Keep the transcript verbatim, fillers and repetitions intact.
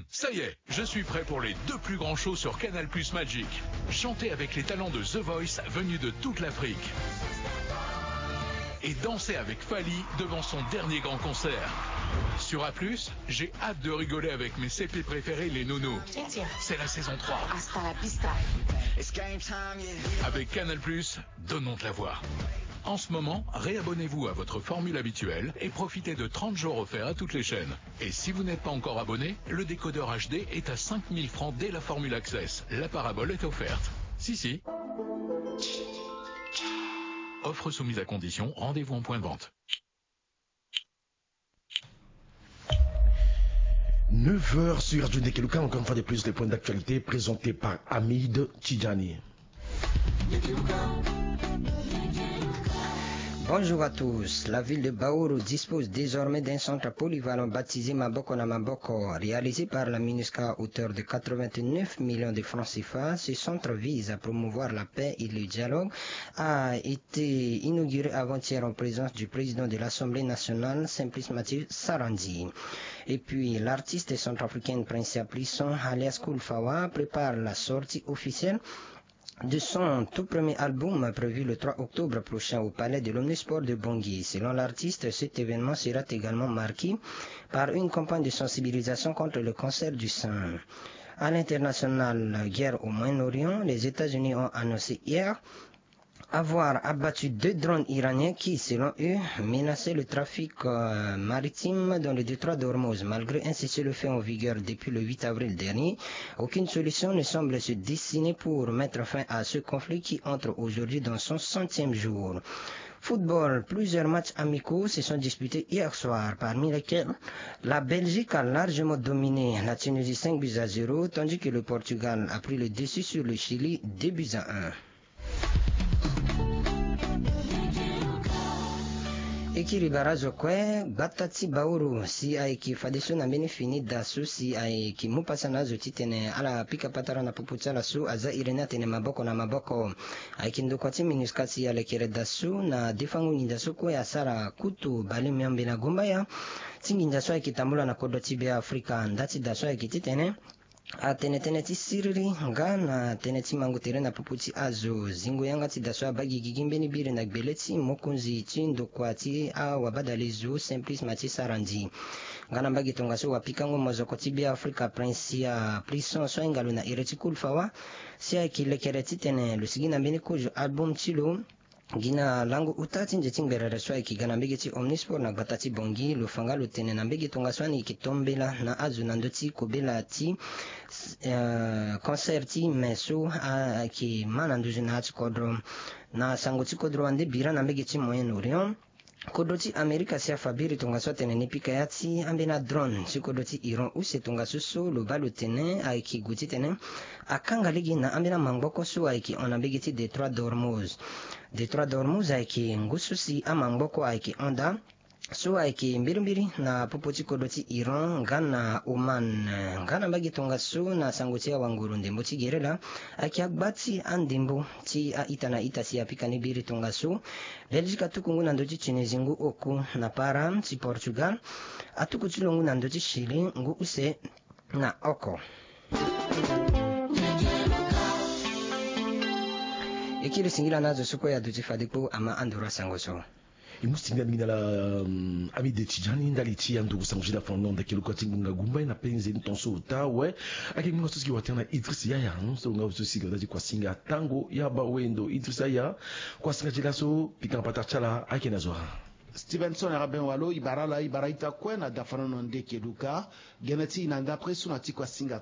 Ça y est, je suis prêt pour les deux plus grands shows sur Canal Plus Magic. Chantez avec les talents de The Voice venus de toute l'Afrique. Et dansez avec Fally devant son dernier grand concert. Sur A plus, j'ai hâte de rigoler avec mes C P préférés, les Nounous. C'est la saison trois. Avec Canal Plus, donnons de la voix. En ce moment, réabonnez-vous à votre formule habituelle et profitez de trente jours offerts à toutes les chaînes. Et si vous n'êtes pas encore abonné, le décodeur H D est à cinq mille francs dès la formule Access. La parabole est offerte. Si, si. Offre soumise à condition, rendez-vous en point de vente. Neuf heures sur Radio Ndekeluka, encore une fois de plus, les points d'actualité présentés par Hamid Tidjani. Bonjour à tous. La ville de Baourou dispose désormais d'un centre polyvalent baptisé Maboko na Maboko, réalisé par la MINUSCA à hauteur de quatre-vingt-neuf millions de francs C F A. Ce centre vise à promouvoir la paix et le dialogue, a été inauguré avant-hier en présence du président de l'Assemblée nationale, Simplice Mathieu Sarandji. Et puis, l'artiste centrafricaine Princia Plisson, alias Kool Fawa, prépare la sortie officielle de son tout premier album, prévu le trois octobre prochain au palais de l'Omnisport de Bangui. Selon l'artiste, cet événement sera également marqué par une campagne de sensibilisation contre le cancer du sein. À l'international, guerre au Moyen-Orient, les États-Unis ont annoncé hier avoir abattu deux drones iraniens qui, selon eux, menaçaient le trafic, euh, maritime dans le détroit d'Ormuz. Malgré un cessez-le-feu en vigueur depuis le huit avril dernier, aucune solution ne semble se dessiner pour mettre fin à ce conflit qui entre aujourd'hui dans son centième jour. Football, plusieurs matchs amicaux se sont disputés hier soir, parmi lesquels la Belgique a largement dominé la Tunisie cinq buts à zéro, tandis que le Portugal a pris le dessus sur le Chili deux buts à un. E kiri barazo kue, gbata ti Baourou si ayeke fadeso na mbeni fini da so si ayeke mu pasa na azo titene ala pika patara na popo ti ala so aza iri ni atene maboko na maboko. Ayeke ndokua ti MINUSCA si alekere da so na defango nginza so kue asara kutu bale miombe na gumbaya ti nginza so ayeke tambula na kodro ti Be Afrika. Nda ti da so ayeke titene atene tënë ti siriri nga na tënë ti mango tere na popo ti azo. Zingo yanga ti da so abaa gigigi mbeni biri na gbele ti mokonzi ti ndokua ti awabadalezo Simplice Mathieu Sarandji. Nga na mbage tongaso wapikango mozoko ti Be Afrika Princia Plisson so ahinga lo na iri ti Kool Fawa si ayeke lekere titene lo sigi na mbeni kozo album ti lo. Gi na lango uta ti nze ti ngberere so ayeke ga na mbege ti Omnisport na gbata ti Bangui, lo fa nga lo tene na mbege tongaso ani yeke tombela na azo na ndö ti kobela ti, eh, concert ti me so ayeke ma na nduzu na ya ti kodro. Na sango ti kodro wande bira na mbege ti Moyen-Orient. Kodro ti Amerika si afa biri tongaso atene ni pika ya ti ambeni adrone ti kodro ti Iran use tongaso so lo baa lo tene ayeke gue titene akanga lege na ambeni amangboko so ayeke hon na mbege ti Détroit d'Ormuz. Détroit d'Ormuz ayeke ngu so si amangboko ayeke hon daa so ayeke mbirimbiri na popo ti kodro ti Iran nga na Oman. Nga na mbage tongaso na sango ti awanguru ndembo ti gerela ayeke agba ti andembo ti a-ita na ita si apika ni biri tongaso. Belgique atuku ngu na ndö ti Tunisie ngu oku na para ti Portugal. Atuku ti lo ngu na ndö ti Chili ngu use na oko. E kiri singila na azo so kue aduti fade kpo ama anduru asango so. E mu singila mingi na ala, hum, ami de ti jani ndali ti anduru sango ti da fondon ndeke lokua ti ngbonga gumba ye na penze ni tonso ota awe. Ayeke ngbonga so si gi watere na Idriss Yaya, hum, so lo nga so si gi watere ti kuasinga tango ya bawendo Idriss Yaya. Kuasinga ti laso pika na pata ti ala ayeke na zo. Stevenson Raben Walo, e bara ala, e bara ita kue na dafanono ndeke luka. Gene ti e na ndapre so na ti kuasinga